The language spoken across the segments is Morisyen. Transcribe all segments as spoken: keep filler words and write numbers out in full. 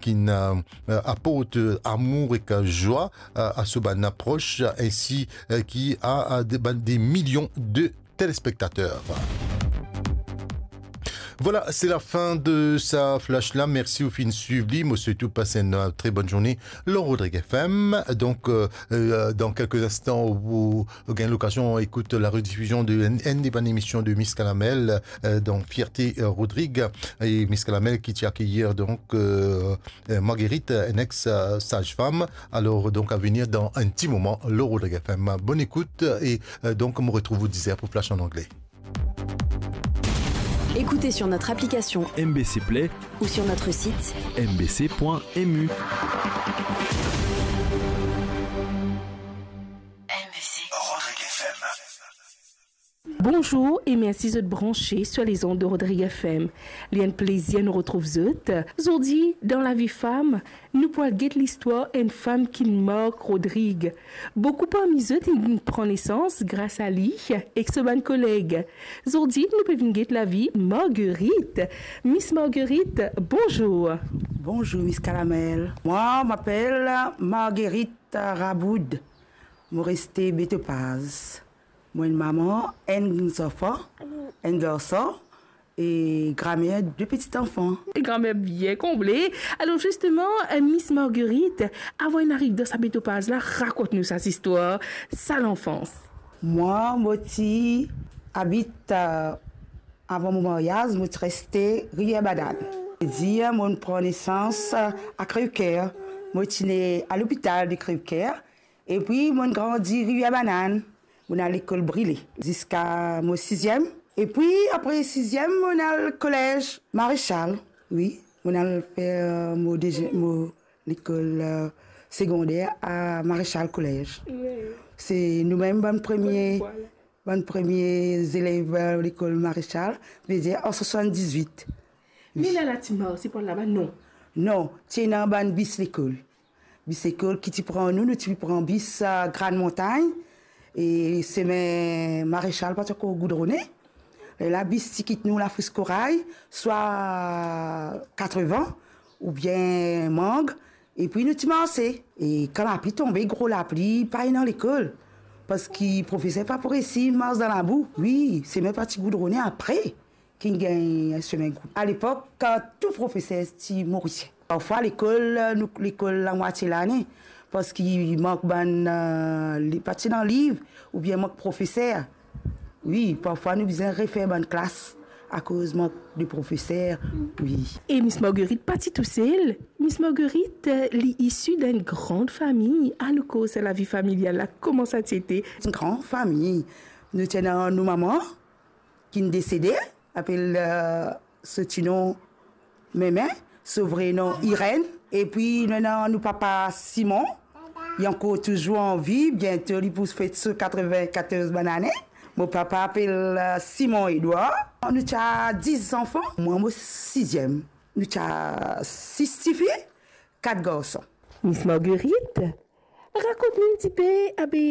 ki, euh, euh, aport, euh, amour ek, euh, zwa, euh, a so bann pros, euh, ensi, euh, ki a, euh, de, bann, de milion de telespektater. Vwala, se lafin de sa flash la. Mersi ou finn swiv li. Mo swet ou pas enn, euh, tre bonn zourne lor Rodrig F M. Donk, euh, euh, dan kelke instan, ou, ou gagn lokazion ekout la redifizion de enn, enn de bann emision de Miss Kalamel, euh, donk Fierté, euh, Rodrig. E Miss Kalamel ki ti akeyir, donk, euh, euh, Marguerite, enn ex, euh, saz-fam. Alor, donk, a venir dan enn ti moman lor Rodrig F M. Bonn ekout e, euh, donk, mo retrouv ou diz er pou Flash an angle. Écoutez sur notre application M B C Play ou sur notre site M B C point M U. Rodrig F M. Bonzour e mersi zot branse sur les ondes de Rodrig F M. Li enn plezir nou retrouv zot. Zordi, dan Lavi Fam, nou pou al get listwar enn fam ki mark Rodrig. Boukou parmi zot inn pran nesans gras a li ek so bann koleg. Zordi, nou pe vinn get lavi Marguerite. Miss Marguerite, bonzour. Bonzour, Miss Kalamel. Moi, m'appelle Marguerite Raboud. Mo reste Betopaz. Mo enn mama, enn zanfan, enn garson, e gramer de peti zanfan. E gramer bien konble. Alor zisteman, euh, Miss Marguerite, avan inn ariv dan sa Betopaz la, rakont nou sa zistwar, sa lanfans. Moi, mo ti abit, euh, avan mo maryaz, mo ti reste Rivière Banane. Dir, mo'nn pran nesans, euh, a Crèvecoeur. Mo ti ne a lopital de Crèvecoeur. Epi mo'nn grandi Rivière Banane. Mo'nn al lekol Brilé ziska mo siziem. Epi apre siziem, mo'nn al kolez Maréchal. Wi, mo'nn al fer mo dezi-, mo lekol, euh, segonder a Maréchal Collège. Wi. Se nou mem bann premie, bann premie zelev, euh, lekol Maréchal, vedir an swasanndizwit. Me la, la ti marse pou al laba, non? Non, ti ena bann bis lekol. Bis lekol ki ti pran nou, nou ti pran bis, euh, Grande Montagne, e semin Maréchal pa ti ankor goudrone. Lerla bis ti kit nou Lafriskoray, swa Katreven oubien Mang, epi nou ti marse. E kan lapli tonbe, gro lapli, pa ena lekol, parski profeser pa pou resi mars dan labou. Wi, semin pa ti goudrone apre ki gagn semin goudrone. Alepok, kan tou profeser ti Morisien. Parfwa lekol, nou lekol lamwatie lane, parski mank bann, euh, li-, pa ti ena liv oubien mank profeser. Wi, parfwa nou bizin refer bann klas akoz mank de profeser, wi. E Miss Marguerite pa ti tousel. Miss Marguerite, euh, li isi dan enn gran fami. Anou koz sa lavi familial la, kouma sa ti ete? Enn gran fami. Nou ti ena nou mama, ki'nn desede, apel, euh, so ti nom Meme, so vre nom Irène. Epi nou ena nou papa Simon, li ankor touzour an vi, biento li pou fet so katreven-katorz bann ane. Mo papa apel, euh, Simon Edouard. Nou ti a dis zanfan, mwa mo siziem. Nou ti a sis tifi, kat garson. Miss Marguerite, rakont nou enn tipe, abe,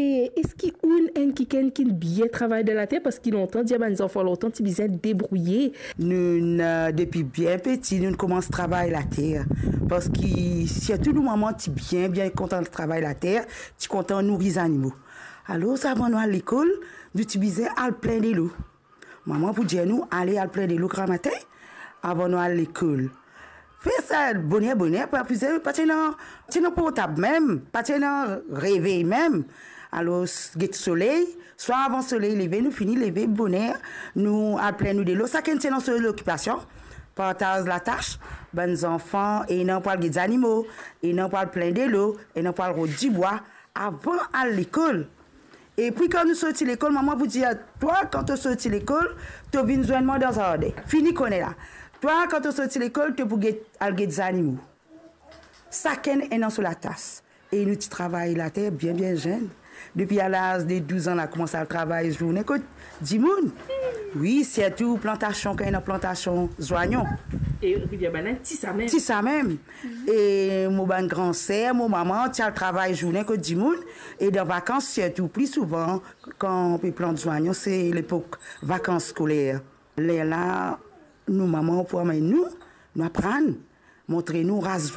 eski ou'nn enn kikenn ki'nn bien travay dan later? Parski lontan, dir bann zanfan lontan ti bizin debrouye. Nou'nn, euh, depi bien peti, nou'nn koumans travay later. Parski sirtou nou mama ti bien, bien kontan travay later, ti kontan nouri zanimo. Alor, avan nou al lekol, nou ti bizin al plin delo. Mama pou dir nou, ale al plin delo gramatin avan nou al lekol. Fer sa boner, boner, pa bizin, pa ti ena, ti ena portab mem, pa ti ena revey mem. Alor, get soley, swa avan soley leve, nou fini leve boner, nou al plin nou delo, sakenn ti ena so lokipasion, partaz latas, bann zanfan, ena pou al get zanimo, ena pou al plin delo, ena pou al rod dibwa, avan al lekol. Epi kan nou sorti lekol, mama pou dir, twa, kan to sorti lekol, to vinn zwenn mwa dan zardin. Fini kone la. Twa, kan to sorti lekol, to pou get, al get zanimo. Sakenn ena so latas. E nou ti travay later bien, bien zenn. Depi a laz de douz an, la koumans al travay zourne kot dimoun. Wi, sirtou plantasion, kan ena plantasion zwanyon. E Rivière Banane, ti sa mem. Ti sa mem. E mo bann gran ser, mo mama, ti al travay zourne kot dimoun. E dan vakans, sirtou pli souvan, kan pe plant zwanyon, se lepok vakans skoler. Lerla, nou mama pou amenn nou, nou aprann. montre nou raz